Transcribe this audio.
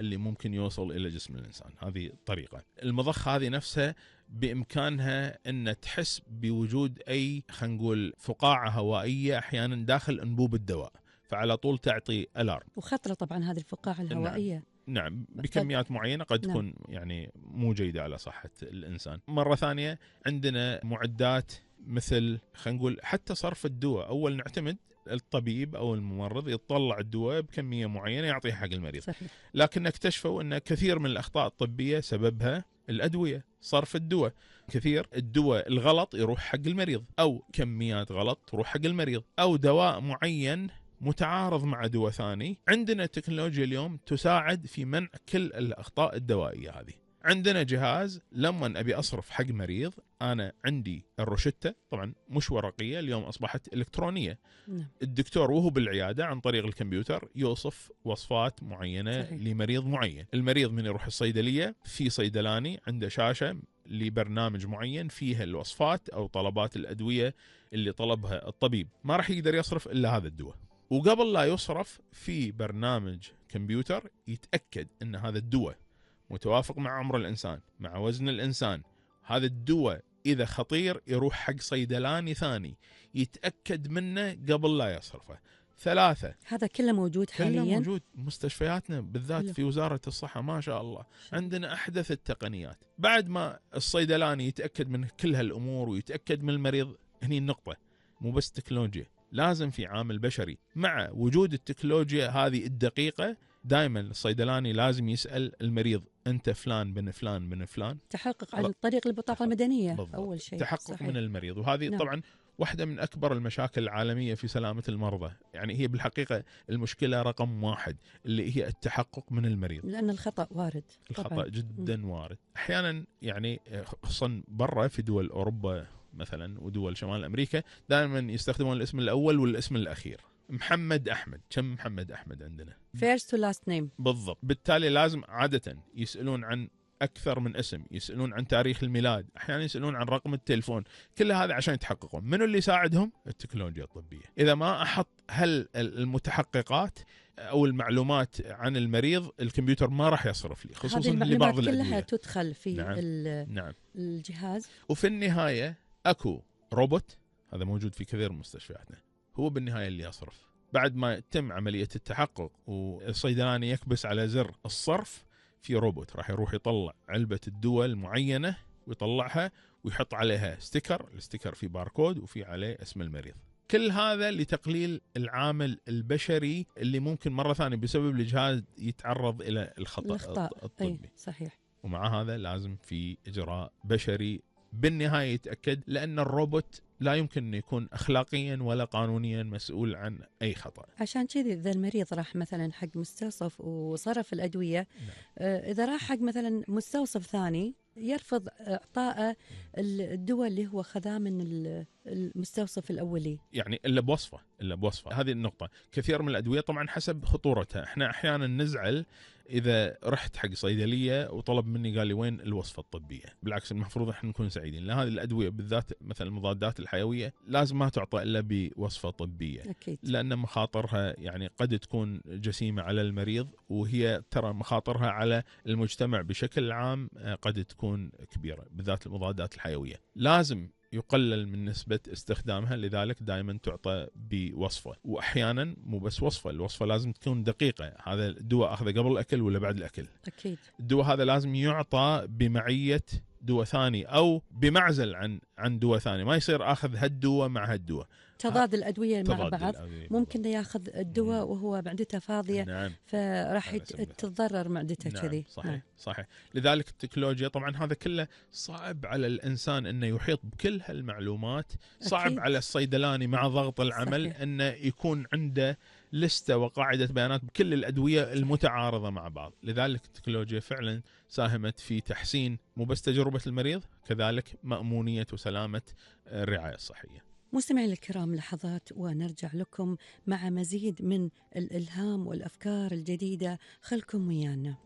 اللي ممكن يوصل إلى جسم الإنسان. هذه الطريقة. المضخة هذه نفسها بإمكانها أن تحس بوجود أي خلينا نقول فقاعة هوائية أحيانا داخل أنبوب الدواء، فعلى طول تعطي ألارم. وخطرة طبعا هذه الفقاعة الهوائية. نعم بكميات معينة قد تكون يعني مو جيدة على صحة الإنسان. مرة ثانية عندنا معدات مثل خلينا نقول حتى صرف الدواء. أول نعتمد الطبيب أو الممرض يطلع الدواء بكمية معينة يعطيها حق المريض. صحيح. لكن اكتشفوا أن كثير من الأخطاء الطبية سببها الأدوية، صرف الدواء. كثير الدواء الغلط يروح حق المريض، أو كميات غلط تروح حق المريض، أو دواء معين متعارض مع دواء ثاني. عندنا تكنولوجيا اليوم تساعد في منع كل الأخطاء الدوائية هذه. عندنا جهاز لما أبي أصرف حق مريض، أنا عندي الروشتة طبعا مش ورقية، اليوم أصبحت إلكترونية. الدكتور وهو بالعيادة عن طريق الكمبيوتر يوصف وصفات معينة صحيح. لمريض معين. المريض من يروح الصيدلية، في صيدلاني عنده شاشة لبرنامج معين فيها الوصفات أو طلبات الأدوية اللي طلبها الطبيب، ما راح يقدر يصرف إلا هذا الدواء. وقبل لا يصرف في برنامج كمبيوتر يتأكد أن هذا الدواء متوافق مع عمر الإنسان، مع وزن الإنسان. هذا الدواء إذا خطير يروح حق صيدلاني ثاني يتأكد منه قبل لا يصرفه. 3 هذا كله موجود حاليا، كله موجود مستشفياتنا بالذات في وزارة الصحة ما شاء الله. عندنا أحدث التقنيات. بعد ما الصيدلاني يتأكد من كل هالأمور ويتأكد من المريض، هني النقطة، مو بس تكنولوجيا، لازم في عامل بشري. مع وجود التكنولوجيا هذه الدقيقة، دائما الصيدلاني لازم يسأل المريض أنت فلان بن فلان بن فلان، تحقق عن طريق البطاقة المدنية بالضبط. أول شيء تحقق صحيح. من المريض. وهذه طبعا واحدة من أكبر المشاكل العالمية في سلامة المرضى. يعني هي بالحقيقة المشكلة رقم 1 اللي هي التحقق من المريض، لأن الخطأ وارد. الخطأ طبعاً. جدا وارد. أحيانا يعني خصوصا برا في دول أوروبا مثلا ودول شمال أمريكا دائما يستخدمون الاسم الأول والاسم الأخير. محمد أحمد، كم محمد أحمد عندنا؟ first to last name. بالضبط. بالتالي لازم عادة يسألون عن أكثر من اسم، يسألون عن تاريخ الميلاد، أحيانا يسألون عن رقم التليفون. كل هذا عشان يتحققون. منو اللي يساعدهم؟ التكنولوجيا الطبية. إذا ما أحط المتحققات أو المعلومات عن المريض، الكمبيوتر ما راح يصرف لي، خصوصا لبعض الأدوية. كلها تدخل في نعم. الجهاز. وفي النهاية أكو روبوت، هذا موجود في كثير من مستشفياتنا، هو بالنهاية اللي يصرف. بعد ما يتم عملية التحقق والصيدلاني يكبس على زر الصرف، في روبوت راح يروح يطلع علبة الدواء المعينة ويطلعها ويحط عليها ستيكر، الستيكر فيه باركود وفي عليه اسم المريض. كل هذا لتقليل العامل البشري اللي ممكن مرة ثانية بسبب الجهاز يتعرض إلى الخطأ الطبي. صحيح. ومع هذا لازم في إجراء بشري بالنهاية يتأكد، لأن الروبوت لا يمكن أن يكون أخلاقيا ولا قانونيا مسؤول عن أي خطأ. عشان كذا إذا المريض راح مثلا حق مستوصف وصرف الأدوية، إذا راح حق مثلا مستوصف ثاني يرفض إعطاء الدواء اللي هو خذاه من المستوصف الأولي، يعني إلا بوصفة. هذه النقطة. كثير من الأدوية طبعا حسب خطورتها. احنا أحيانا نزعل إذا رحت حق صيدلية وطلب مني قال لي وين الوصفة الطبية. بالعكس المفروض احنا نكون سعيدين، لأن هذه الأدوية بالذات مثل المضادات الحيوية لازم ما تعطى إلا بوصفة طبية. أكيد. لأن مخاطرها يعني قد تكون جسيمة على المريض، وهي ترى مخاطرها على المجتمع بشكل عام قد تكون كبيرة، بالذات المضادات الحيوية. لازم يقلل من نسبة استخدامها، لذلك دائما تعطى بوصفة. وأحيانا مو بس وصفة، الوصفة لازم تكون دقيقة. هذا الدواء أخذه قبل الأكل ولا بعد الأكل؟ أكيد. الدواء هذا لازم يعطى بمعية دواء ثاني أو بمعزل عن دواء ثاني، ما يصير أخذ هالدواء مع هالدواء. تضاد الأدوية مع بعض، ممكن ياخذ الدواء وهو معدته فاضية. نعم. فراح تتضرر معدته كذي. نعم. صحيح. صحيح. لذلك التكنولوجيا طبعا هذا كله صعب على الإنسان أنه يحيط بكل هالمعلومات. صعب أكيد. على الصيدلاني مع ضغط العمل صحيح. أنه يكون عنده لستة وقاعدة بيانات بكل الأدوية المتعارضة مع بعض. لذلك التكنولوجيا فعلا ساهمت في تحسين مو بس تجربة المريض، كذلك مأمونية وسلامة الرعاية الصحية. مستمعين الكرام، لحظات ونرجع لكم مع مزيد من الإلهام والأفكار الجديدة. خلكم ويانا.